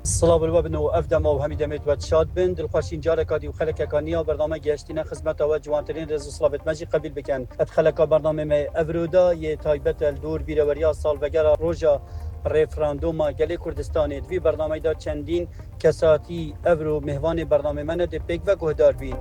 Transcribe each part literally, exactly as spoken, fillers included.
Silav li we bin û ev dema û hemî demê we şad bin. Dilxweşîn careka dî û xelekeka niya bername gihiştîne xizmeta we, ciwantirîn rêz û silavêt me jî qebîl bikin. Ev xeleka bernamê me evro da yê taybet e li dor bîreweriya salvegera roja referanduma gelê Kurdistanê. Di vî bernameyê de çendîn kesatî evro mêvanê bernamê me ne dê pêk ve guhdar bîn.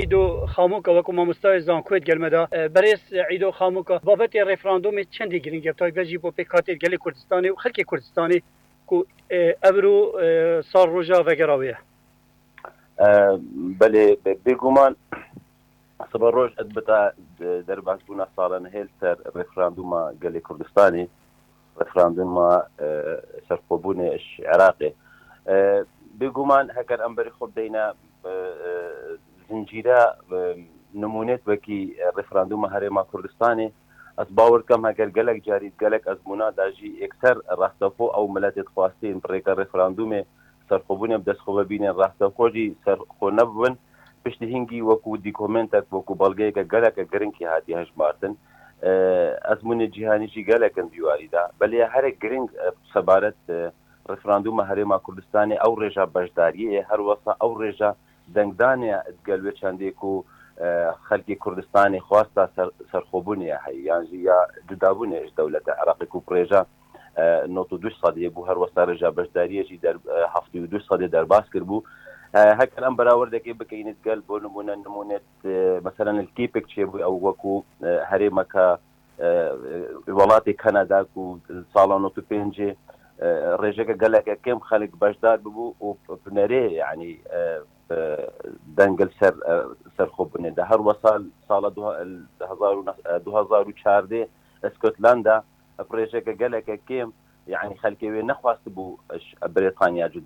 Îdo Xamoka wekî mamostayê zankoyê digel me de. E, berêz Îdo Xamoka, babetê referandumê çendî giring e, taybet jî bo pêkhatê gelê Kurdistanê û xelkê Kurdistanê ku, e, evro, e, sal roja vegera wê ye. E, belê, be-, bêguman sibe roj ez bita de-, derbasbûna sala nehê li ser referanduma gelê Kurdistanê, referanduma, e, serxwebûnê ji Iraqê. E, bêguman heker em berê xwe bideyne, e, e, zincîre, e, nimûnêt wekî, e, referanduma Herêma Kurdistanê, ez bawer dikim heker gelek carî, gelek ezmûna de jî yekser rastexwe ew miletê dixwastîn bi rêka referandumê serxwebûnê bi dest xwe ve bînin, rastexwe jî serxwe nebibin. Piştî hingî wekû dîkomentek, wekû belgeyeke geleke giringî hatiye hejmartin. E, ezmûnê cîhanî jî gelek in di warî de. Belê herek giring, e, sebaret, e, referanduma Herêma Kurdistanê ew rêja beşdariyê ye, her wesa ew rêja dengdanê ye digel wê çendê ku, e, xelkê Kurdistanê xwesta ser-, serxwebûnê ye heye, yan jî ya cudabûnê ji dewleta Iraqê ku bi rêja, e, nod û du sedê bû, her wesa rêja beşdariyê jî der-, e, heftê û du sedê derbas kiribû. E, heker em berawerdekê bikeynî digel bo nimûne, nimûnê, e, meselen li Kîpik çêbû ew wekû, e, herêmeke, e, welatê Kanada ku sala nod û pêncê, e, rêjeke geleke kêm xelk beşdar bibû û bi nerê, yanî, e, e, deng li ser, e, serxwebûnê de. Her wesa sala du-, hezar û neh-, e, du hezar û çardeh Scotland de bi rêjeke geleke kêm, yanî xelkê wê nexwestibû ji Brêtanya cuda